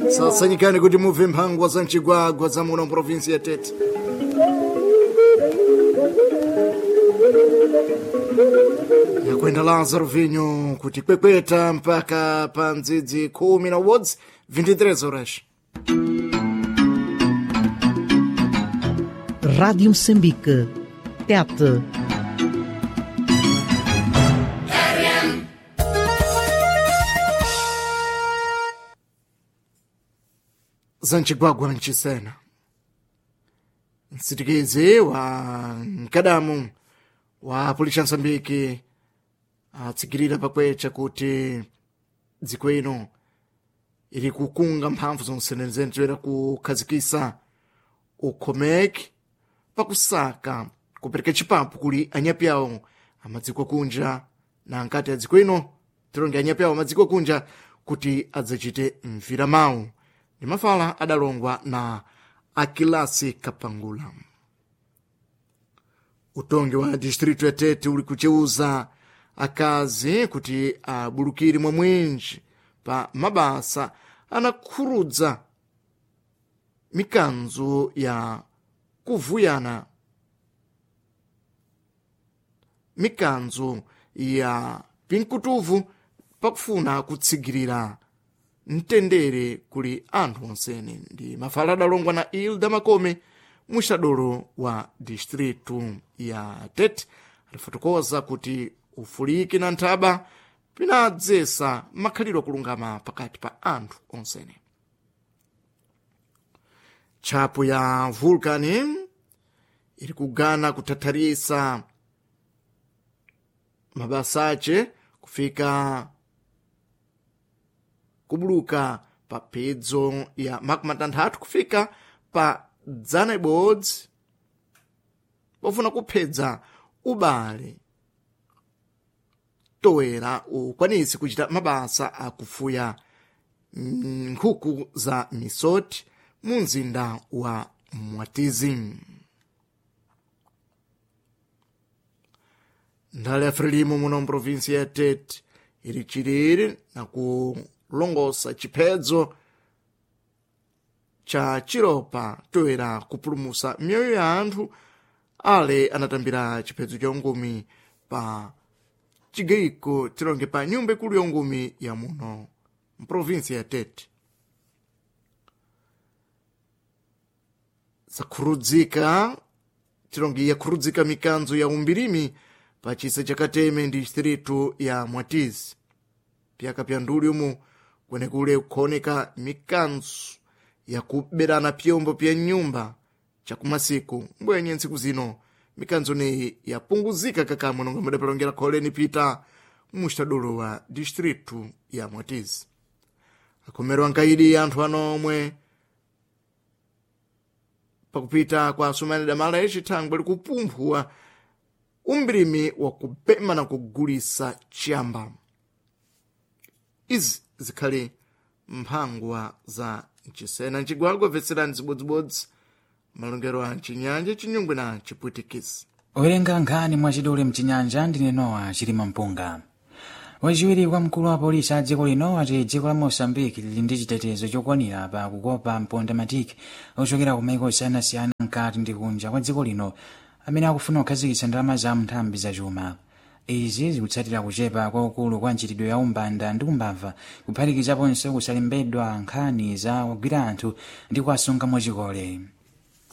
Sasanyikani kuti mubve mphangwa za mchigwagwa za muno mprovinsi ya Tete. Yakwenda Lázaro Vinho kuti kwekweta mpaka pa ndzidzi 10 23 horas. Rádio Moçambique. Tete. Za mchigwagwa mchisena msitikizi wa mkadamu wa pulisha Msambiki atsikirira pakwecha kuti dziko ino ili kukunga mphamvu zonse toera kukhazikisa ukhomeki pakusaka kupereka chipapu kuli anyapi awo amadziko kunja na nkati a dziko ino tilonge anyapi awo amadziko kunja kuti adzachite mvira mawu ndi mafala adalongwa na Akilasi Kapangula. Utongi wa distrito ya Tete uli kucheuza akazi kuti abulukire mwa mwinji pa mabasa anakhurudza mikanzo ya kuvuyana, mikanzo ya pinkutuvu pakufuna kutsigirira mtendere kuli anthu onsene. Ndi mafala adalongwa na Ilda Makome muxadolo wa distritu ya Tete alifotokoza kuti ufuliki na nthaba pinadzesa makhalidwe akulungama pakati pa anthu onsene. Tchapo ya vulkani iri kugana kuthatharisa mabasa ace kufika kubuluka pa phedzo ya 60 kufika pa 100 pofuna kuphedza ubale toera ukwanisi kuchita mabasa akufuya nkhuku za misoti mu mzinda wa Mwatizi. Ndale ya Frelimo muno mprovinsi ya Tete ili chilili na kulongosa chiphedzo cha chiropa toera kupulumusa mioyo ya anthu ale anatambira chiphedzo cha ungumi pa chigayiko tilonge pa nyumba ikulu ya ungumi ya muno mprovinsi ya Tete. Zakhurudzika tilonge yakhurudzika mikanzo ya umbirimi pa chisa cha Kateme ndi distritu ya Mwatizi. Pyaka pya nduli umu kwenekule kuoneka mikanzo yakuberana pyombo pya nyumba chakumasiku mbwenye ntsiku zino mikanzo neyi yapunguzika kakamwe nonga mudapalongera kholeni pita muxitadolo wa distritu ya Mwatizi. Akhomerwa nkaidi anthu ano omwe pakupita kwa asumani damala yacithangwe likupumphuwa umbirimi wa kupema na kugulisa chiyamba. Izi zikhali mphangwa za mchisena mcigwagwa bvetserani zibodzibodzi malongero a mchinyanja chinyungwe na chipwitikisi. Owerenga nkhani mwachidule mchinyanja ndine Nowa Chilima Mpunga. Wachiwiri kwa mkulu wa polisi a dziko lino ati dziko la Mosambiki lili ndi chitetezo chokwanira pa kukopa mpondamatiki ochokera ku maiko osiyanasiyana mkati ndi kunja kwa dziko lino amene akufuna kukhazikitsa ndalama za nthambi zachuma. Izi zikutsatira kuchepa kwaukulu kwa nchitidwe ya umbanda ndi umbava kuphatikizaponso kusalembedwa nkhani za kugwira anthu ndi kuwasunga mwachikole.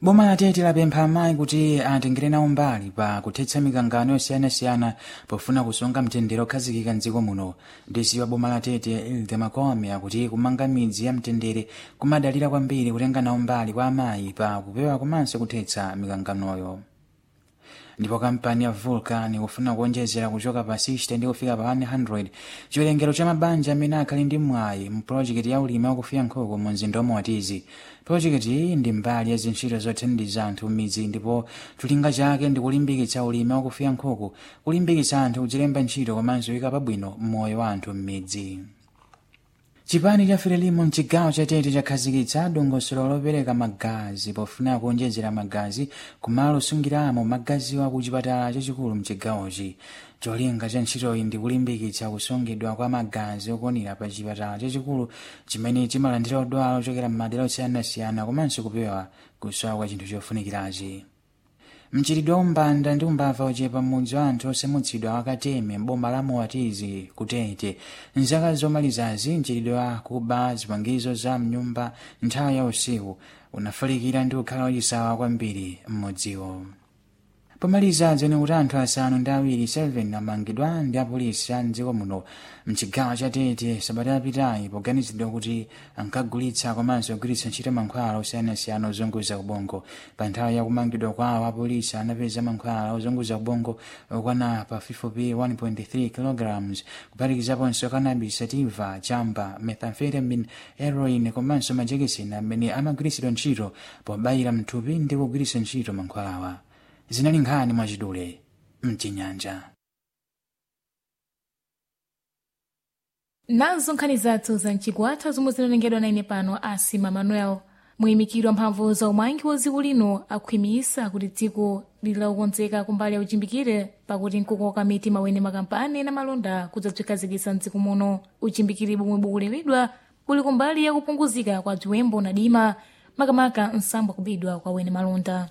Boma la Tete lapempha amayi kuti atengere nawo mbali pa kuthetsa mikangano yosiyanasiyana pofuna kusunga mtendere okhazikika mdziko muno. Ndisi wa boma la Tete Hilda Makome akuti kumanga midzi ya mtendere kumadalira kwambiri kutenga nawo mbali kwa amayi pa kupewa komanso kuthetsa mikanganoyo. Ndipo kampani ya Vulcan ikufuna kuonjezera kuchoka pa 60 ndi kufika pa 100 chiwerengero cha mabanja amene akhali ndi mwayi mu pulojekiti ya ulimi wakufuya nkhuku mu mzinda wa Mwatizi. Pulojekiti iyi ndi mbali ya zintchito zothandiza anthu m'midzi ndipo cholinga chake ndi kulimbikitsa ulimi wakufuya nkhuku, kulimbikitsa anthu kudzilemba ntchito komanso kuyika pabwino moyo wa anthu m'midzi. Chipani cha Frelimo mchigawo cha Tete chakhazikitsa dongosolo lopereka magazi pofuna kuonjezera magazi kumalo osungiramo magaziwa ku chipatala chachikulu mchigawochi. Cholinga cha ntchitoyi ndi kulimbikitsa kusungidwa kwa magazi okwanira pa chipatala chachikulu chimene chimalandira odwala ochokera m'madera osiyanasiyana komanso kupewa kusowa kwa chinthu chofunikirachi. Mchitidwe wa umbanda ndi umbava ochepa m'mudzi wa anthu osamutsidwa wakateme m'boma la Moatizi kutete mzaka zomalizazi, mchitidwe wa kuba zipangizo za mnyumba nthawi ya usiku unafalikira ndi kukhala wachisawa kwambiri m'mudziwo. Pomaliza, dzene kuti anthu 7 7 amangidwa ndi apolisi a mdziko muno mchigawo cha Tete sabata yapitayi poganizidwa kuti ankagulitsa komanso kugwiritsa ntchito mankhwala osiyanasiyana ozunguza ubongo. Pa nthawi ya kumangidwa kwawo, apolisi anapeza mankhwala ozunguza ubongo okwana pafupifupi 1.3 kg, kuphatikizaponso cannabis sativa, chamba, methamphetamine, heroin komanso majekiseni amene amagwiritsidwa ntchito pobayira mthupi ndi kugwiritsa ntchito mankhwalawa. Zinali nkhani mwachidule mchinyanja. Nazo nkhani zathu za mchigwatha zomwe zinalengedwa na ine pano Asima Manuel. Muyimikiri wa mphamvu za umangi wa dziko lino akhwimisa kuti dziko lili lakukonzeka kumbali ya uchimbikire pakuti nkukoka mitima wene makampani na malonda kudzabzikhazikitsa mdziko muno. Uchimbikire bomwe bukulewedwa buli kumbali ya kupunguzika kwa bziwembo na dima, makamaka nsambo kubidwa kwa wene malonda.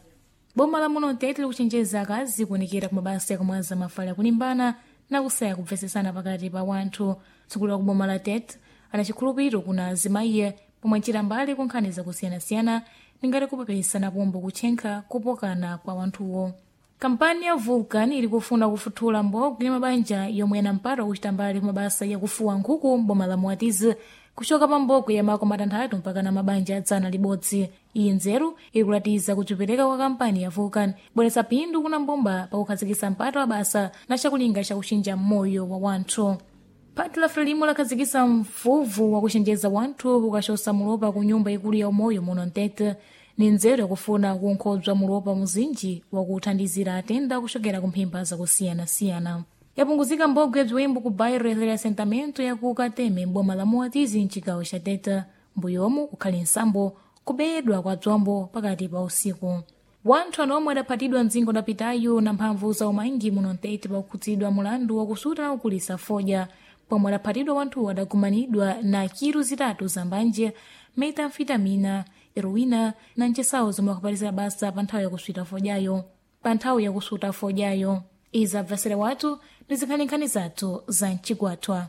Boma la muno Tete likuchenjeza akazi kuonekera ku mabasa yakumwaza mafala yakulimbana na kusaya kupvesesana pakati pa wanthu. Mtsogoleri wa kuboma la Tete ana chikhulupiriro kuna azimayiye pomwe achita mbali ku nkhani zakusiyanasiyana ningati kupepesa na pombo kutchenkha kupokana kwa wanthuwo. Kampani ya Vulcan ili kufuna kufuthula mbogwe ya mabanja yomwe ana mpata wakuchita mbali ku mabasa yakufuwa nkhuku mboma la Moatizi, kuchoka pa mbogwe ya mako 6 mpaka na mabanja 100. Iyi nzeru ikulatiza kudzipereka kwa kampani ya Vulcan bweretsa phindu kuna mbumba pakukhazikitsa mpata wa basa na chakulinga chakuchinja moyo wa wanthu. Phati la Frelimo lakhazikitsa mvuvu wakuchenjeza wanthu kukachosa mulopa ku nyumba ikulu ya umoyo muno Mtete. Ni nzeru yakufuna kunkhodzwa mulopa muzinji wakuthandizira atenda kuchokera ku mphimba zakusiyanasiyana. Yapunguzika mbogwe bziwembu ku bairro ya reassentamento ya ku Kateme m'boma la Moatizi mchigawo cha Tete. Mbuyomu kukhali nsambo kubedwa kwa bzombo pakati pa usiku. Wanthu anomwe adaphatidwa mdzingo dapitayo na mphamvu za umangi muno Mtete pakukhudzidwa mulandu wakusuta na kukulisa fodya. Pomwe adaphatidwa wanthuwo adagumanidwa na kilu 3 za mbanje, metamfetamina, heroína na nchesawo zomwe akupatizira basa pa nthawi yakusuta fodyayo. Pa nthawi yakusuta fodyayo. Izi abvasire wathu ndi zinkhaninkhani zathu za mchigwathwa.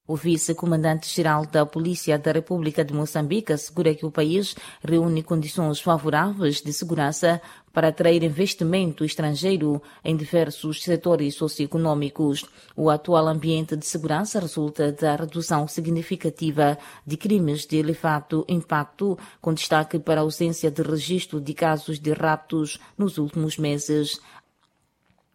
O vice-comandante-geral da Polícia da República de Moçambique assegura que o país reúne condições favoráveis de segurança para atrair investimento estrangeiro em diversos setores socioeconômicos. O atual ambiente de segurança resulta da redução significativa de crimes de elevado impacto, com destaque para a ausência de registro de casos de raptos nos últimos meses.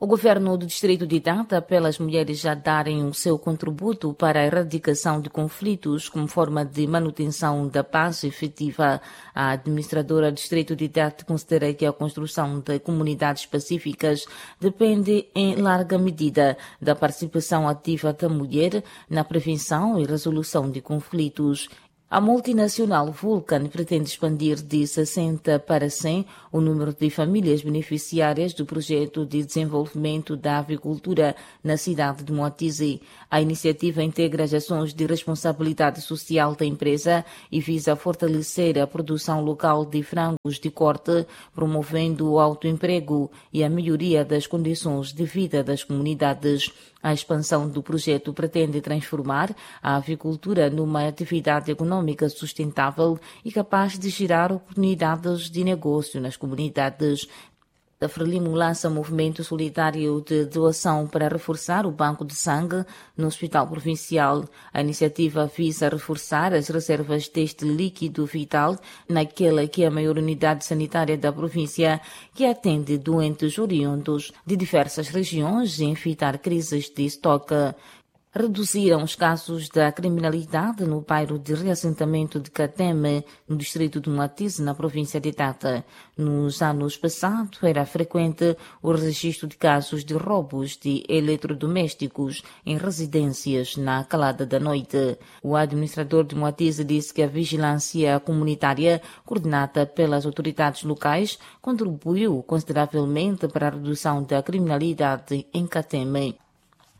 O governo do distrito de Tete apela às mulheres a darem o seu contributo para a erradicação de conflitos como forma de manutenção da paz efetiva. A administradora do distrito de Tete considera que a construção de comunidades pacíficas depende em larga medida da participação ativa da mulher na prevenção e resolução de conflitos. A multinacional Vulcan pretende expandir de 60 para 100 o número de famílias beneficiárias do projeto de desenvolvimento da avicultura na cidade de Moatize. A iniciativa integra as ações de responsabilidade social da empresa e visa fortalecer a produção local de frangos de corte, promovendo o autoemprego e a melhoria das condições de vida das comunidades. A expansão do projeto pretende transformar a avicultura numa atividade econômica sustentável e capaz de gerar oportunidades de negócio nas comunidades. A Frelimo lança movimento solidário de doação para reforçar o banco de sangue no Hospital Provincial. A iniciativa visa reforçar as reservas deste líquido vital naquela que é a maior unidade sanitária da província, que atende doentes oriundos de diversas regiões e evitar crises de estoque. Reduziram os casos da criminalidade no bairro de reassentamento de Cateme, no distrito de Moatize, na província de Tete. Nos anos passados, era frequente o registro de casos de roubos de eletrodomésticos em residências na calada da noite. O administrador de Moatize disse que a vigilância comunitária, coordenada pelas autoridades locais, contribuiu consideravelmente para a redução da criminalidade em Cateme.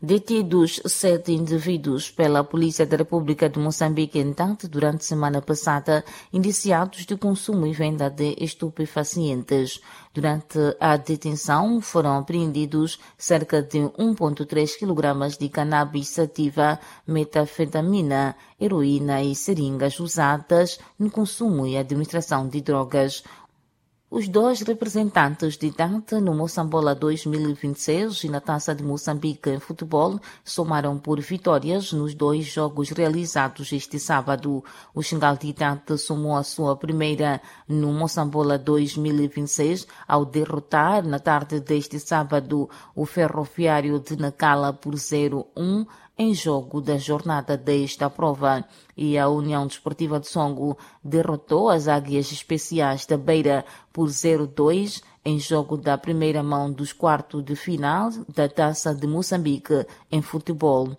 Detidos 7 indivíduos pela Polícia da República de Moçambique em Tete durante a semana passada, indiciados de consumo e venda de estupefacientes. Durante a detenção foram apreendidos cerca de 1,3 kg de cannabis sativa, metafetamina, heroína e seringas usadas no consumo e administração de drogas. Os dois representantes de Tete no Moçambola 2026 e na Taça de Moçambique em futebol somaram por vitórias nos dois jogos realizados este sábado. O Xingal de Tete somou a sua primeira no Moçambola 2026 ao derrotar na tarde deste sábado o Ferroviário de Nacala por 0-1 em jogo da jornada desta prova. E a União Desportiva de Songo derrotou as Águias Especiais da Beira por 0-2 em jogo da primeira mão dos quartos de final da Taça de Moçambique em futebol.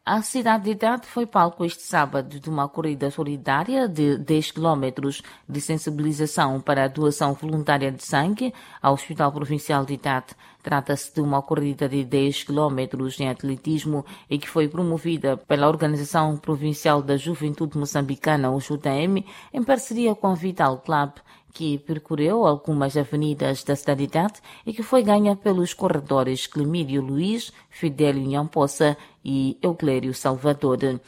A cidade de Tete foi palco este sábado de uma corrida solidária de 10 km de sensibilização para a doação voluntária de sangue ao Hospital Provincial de Tete. Trata-se de uma corrida de 10 km em atletismo e que foi promovida pela Organização Provincial da Juventude Moçambicana, o JM, em parceria com a Vital Club, que percorreu algumas avenidas da cidade de Tete e que foi ganha pelos corredores Clemírio Luiz, Fidélio Nhampossa e Euclério Salvador.